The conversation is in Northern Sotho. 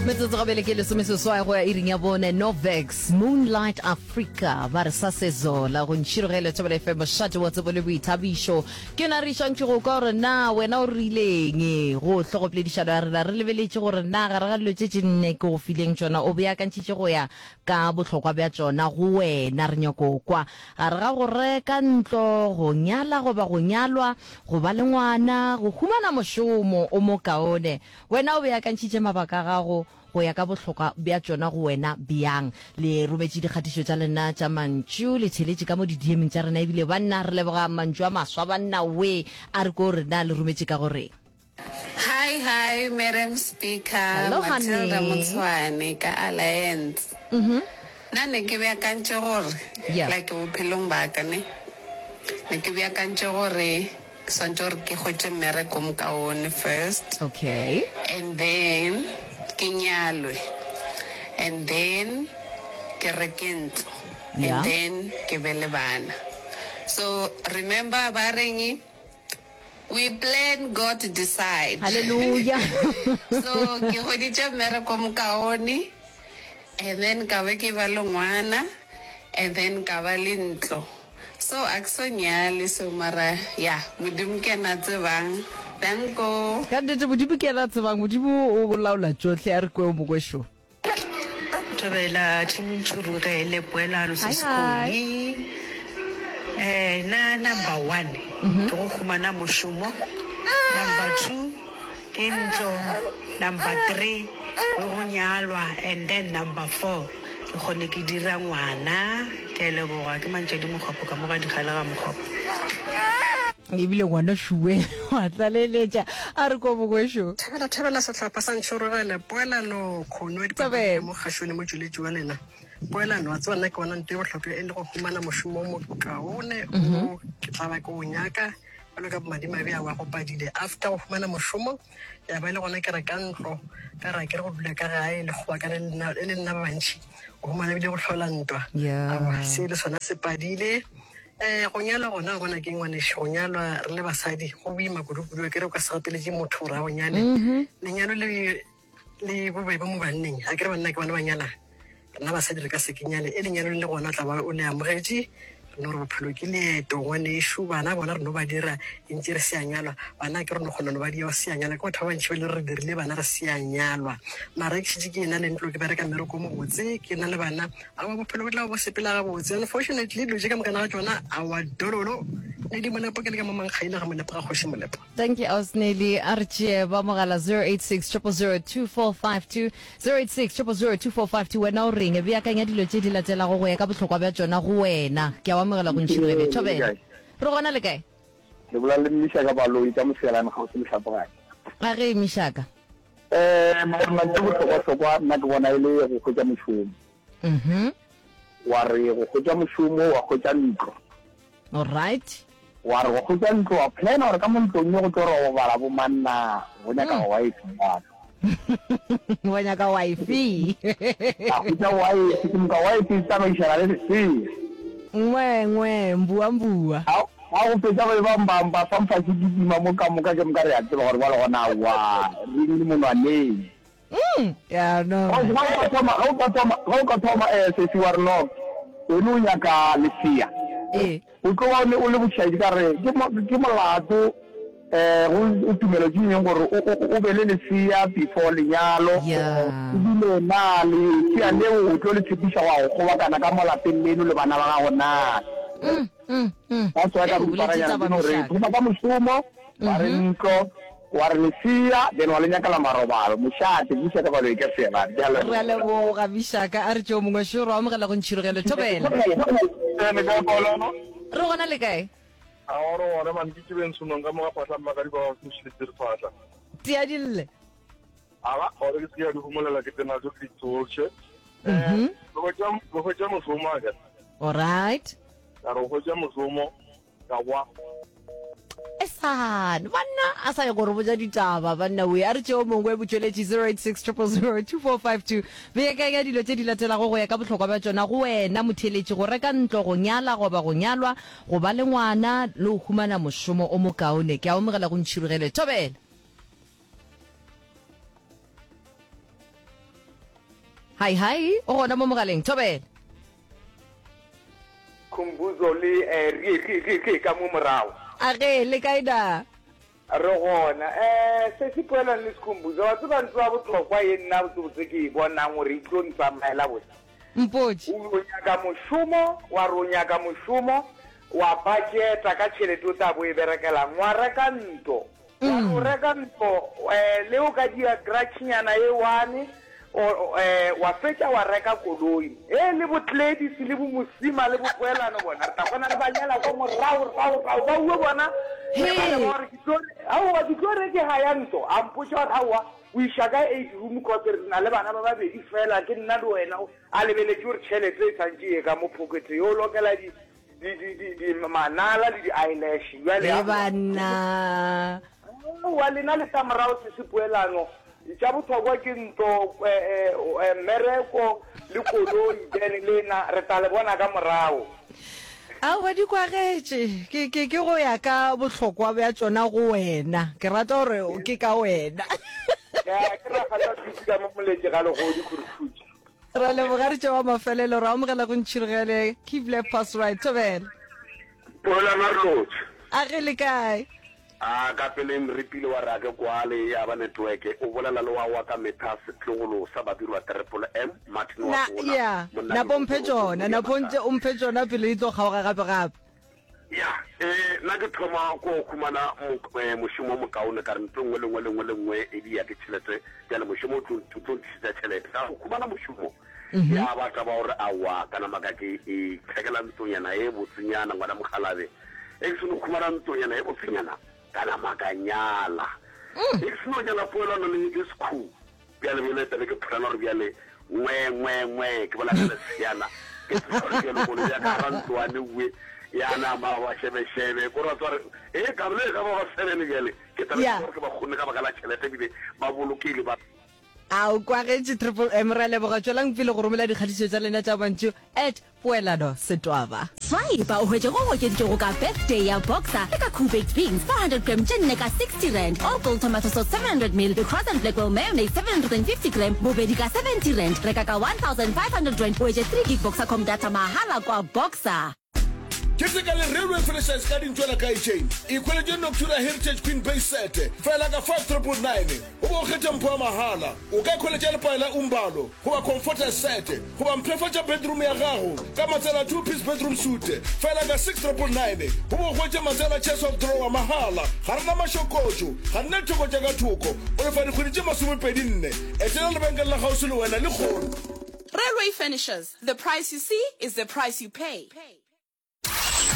Metsotso gabele ke lesomeseswai go ya iring ya bone. Novex, Moonlight Africa, ba re sa sezola go ntšhirogele Thobela FM, mošate wa tsebo le boithabišo. Ke yona re išantšwe go kwa gore na wena o rileng go hlogopoledišano ya rena. Re lebeletše gore na gare ga dilo tše tše nne ke go fileng tšona o beakantšhitše go ya ka bohlokwa bja tšona go wena. Re nyako kwa gare ga go reka ntlo, go nyala goba go nyalwa, go ba le ngwana, go humana mošomo o mokaone. Wena o beakantšhitše mabaka a gago go ya ka bohlokwa bja tšona go wena bjang? Le rometše dikgatišo tša lena tša mantšu, le theletše ka mo di-DM-ing tša rena ebile banna re leboga mantšu a maswa banna wee a re ko rena le rometše ka go reng. Hi hi Madam Speaker Hello Matilda honey. Motshwane ka Alliance. Nna ne ke beakantše gore Yeah. like bophelong ba ka ne ne ke beakantše gore Ke swantše gore ke hwetše mmereko o mokaone first. Okay. And then ke nyalwe. And then ke reke ntlo. Yeah. And then ke be le bana. So remember ba reng we plan God decide. Hallelujah. So ke hweditše mmereko o mokaone and then ka be ke ba le ngwana and then ka ba le ntlo. So a ke so nyale so mara ya Modimo ke yena a tsebang. Danko. Ka nnete Modimo ke yena a tsebang. Modimo o laola tšohle. A re kwe o mongwe šo. Thobela team Ntšhurugele Poelano Hi hi. Sesikoni eh na number one ke go humana mošomo number 2 ke ntlo number 3 ke go nyalwa and then number 4 Ke kgone ke dira ngwana. Ke a leboga. Ke Mantšadi Mokgopo ka mo ga Dikgale ga Mokgopo. Ebile ngwana šuwe wa tlaleletša a re ko bogwešo. Thabela thabela sehlopha sa Ntšhorogele Poelano Kgono ya dipapadi Thabela. mo kgašong le motšweletši wa lena Poelano wa tseba nna ke bona nto e bohlokwa e le go humana mošomo o mokaone o ke tla ba ke o nyaka bjalo ka bomadimabe a wa go padile after go humana mošomo Ya ba e le gona ke reka ntlo, ka re a ke re go dula ka gae le kgobakane le nna, e le nna ba bantši, o humana ebile go hlola ntwa. Aowa, se le sona se padile. Um go nyalwa gona, wa bona ke ngwanešu, go nyalwa re le basadi go boima kudu-kudu, a ke re o ka se gapeletše motho gore a go nyale. Lenyalo le le bobebe mo banneng, a ke re banna ke bona ba nyalang. Rena basadi re ka se ke nyale, e lenyalo le le gona o tla ba o le amogetše. Re no re bophelo ke leeto ngwanešu, bana bona re no ba dira e ntše re se a nyalwa. Bana ke re no kgona no ba dia o se a nyalwa, ke batho ba bantši ba le re dirile bana re se a nyalwa. Mara ke šetše ke ena le ntlo, ke bereka mmereko o mobotse, ke na le bana, aowa bophelo bo tla bo sepela gabotse. Unfortunately dilo tše ka mokana ga tšona aowa dololo ne di Molepo ke le ka mo Mankgaile ga Molepo ga Kgoši Molepo. Thank you Ausneli. A re tšee ba mogala 086 000 2452. 086 000 2452 Wena o reng? Beakanya dilo tše di latelago go ya ka bohlokwa bja tšona go wena. Ke a o amogela go Ntšhirogele. Thobela. Re gona le kae? Le bolela le Mishaka Baloyi ka Moselane kgauswi le Hlapogadi. A ge, Mishaka. Eh, mara nna bohlokwa-hlokwa nna ke bona e le go hwetša mošomo. Mhm. Wa re go hwetša mošomo wa hwetša ntlo. Alright. Wa re go hwetša ntlo wa plana gore ka mo ntlong ye go tlo robala bo mang na, go nyaka mm. wife bjalo. Wa nyaka wife. A hwetša wife, ke moka wife e tsamaišana le lesea. Ngwe ngwe mbua mbua. Ga go fetša go e ba mba mba fa mfa se kitima mo ka moka ke moka re a tseba gore bjalo gona wa ring le monwaneng. Mm, ya no. Ga o ka thoma, ga o ka thoma, ga o ka thoma eh sesi wa re no, wena o nyaka lesea. Ee. O tlo ba o le o le bošaedi ka re ke ke molato eh go o tumelo ke eng gore o o o be le lesea before lenyalo. Yeah. Ebile na lesea leo o tlo le tshepiša go ya go kgobakana ka mo lapeng leno le bana ba gago na? Mm, mm, mm. That's why ka Ee, o boletše riparanyana taba ke no re Mishaka. thoma ka mošomo, wa re ntlo, Wa re lesea, then wa le nyakela marobalo. Mošate, buša ka baloyi ka sela. Ke a Re a leboga. leboga, Mishaka. A re tšeo mongwe šo, re amogela go Ntšhirogelo. Thobela. Ee, le kae Paulano? Re gona le kae? A wa re gona man, ke tšebeng tshonong ka mo ga fahla mmakadi ba ba mošiletse re fahla. Tia di lle. Aga, gore ke se ke ya di homolela ke tsena tso ke di tsohle. Eh, re hwetša re hwetša mošomo a ke. All right. Ka re hwetša mošomo Ka kwa. Esan, banna a sa ye go re botša ditaba banna we a re tšeo mongwe botšweletši 086 000 2452 beakanya dilo tše di latelago go ya ka bohlokwa bja tšona go wena motheeletši go reka ntlo go nyala goba go nyalwa go ba le ngwana le go humana mošomo o mokaone ke a omogela go ntšhirogele thobela. Hi hi, o gona mo mogaleng. Thobela. Khumbuzo le eh, rie rie rie rie ka mo morago. A ge, le kae na? Re gona. Eh, Sesi Poelano le Sikhumbuzo, wa tseba ntho ya bohlokwa ye nna botsebotse ke e bonang gore e tlo ntsamaela botse. Mpotše. O nyaka mošomo, wa re o nyaka mošomo, wa budgeta ka tšhelete o tla bo e berekelang, wa reka ntlo. Wa re o reka ntlo, eh, le o ka dia garage-nyana e one, o, eh, wa fetša wa reka koloi. He, le bo Gladys le bo Mosima le bo Poelano bona, re tla kgona re ba nyala kwa morago, rago, rago. Ba uwe bona, He. ba le ba gore ke tlo, aowa, ke tlo re ke haya ntlo. A mpotša gore aowa, o iša ka eight room cause re na le bana ba babedi fela, ke nna le wena. A lebeletše gore tšhelete e santše e ye ka mo pocket, yo lokela di, di, di, di, di manala le di-eyelash. Bjale, Ge aowa. banna. Aowa, lena le tla morago se se poelano. Tša bohlokwa ke ntlo, eh, eh, mmereko le koloi, then lena re tla le bona ka morago. Aowa, di kwagetše. Ke, ke, ke go ya ka bohlokwa bja tšona go wena. Ke rata gore ke ka wena. Ya, ke ragata thusi ka mo moletše ga legodi khurukhutše. Ra leboga re tšewa mafelelo ra amogela go ntšhirogele keep left pass right thobela. Poelano a re lotšhe. A ge le kae? A ka pele Mripile wa re a ke kwale ya ba network o bolela le wa wa ka metha setlogolo sa Babirwa Triple M Martin wa Na Pona ya monna napo mphe Dirotoro tšona napo ntše o mphe tšona pele di tlo kgaoga gape gape. Ya, eh, nna ke thoma ko khumana mo, eh, mošomo o mokaone, ka re ntho e nngwe le nngwe le nngwe le nngwe e dia ke tšhelete, bjale mošomo o tlo, o tlo ntlišetša tšhelete. Ka go khumana mošomo, ya ba taba gore aowa, ka nama ka ke ithekela ntlonyana e botsenyana, ngwana mokgalabje. E ke seno khumana ntlonyana e botsenyana, ka nama ka nyala. E ke seno nyala poelano le, le sekhu. Bjale, bjale tla be ke pholana gore bjale, ngwe, ngwe, ngwe, ke bola ka leseana, ke tsoša gore bjale koloi ya ka gara ntlwane ue, ya nama ba šebešebe, ko ra tswa re, e ka bile e ka ba ba sebene bjale, ke tla be Ya. ke gore ke ba kgonne ka baka la tšhelete ebile ba bolokile ba. A o kwagetše Triple M, re a leboga. Tšwelang pele go romela dikgatišo tša lena tša mantšu at Poelano Setwaba. Swipa o hwetše go okeditšwego ka Birthday ya Boxer le ka Koo Baked Beans 400 gram tše nne ka R60, All Gold Tomato Sauce 700 ml le Cross and Blackwell Mayonnaise 750 gram bobedi ka R70. Reka ka R1500 o hwetše 3 gig Boxercom data mahala kwa Boxer. Keteka le Railway Furnitures ka dintšo la Kaetšeng. Ikhweletše Noctura Heritage Queen Base Set fela ka 5999 goba o kgethe mpho ya mahala. O ka ikhweletša lepae la Umbalo goba Comforter Set goba mpshafatša bedroom ya gago ka matsela Two Piece Bedroom Suite fela ka 6999 goba o hwetše matsela Chest of Drawer mahala. Ga re na mašokotšo, ga re na ditheko tša ka thoko. O lefa dikgwedi tše masomepedi-nne. Etela lebenkele la kgauswi le wena lehono. Railway Furnishers, the price you see is the price you pay.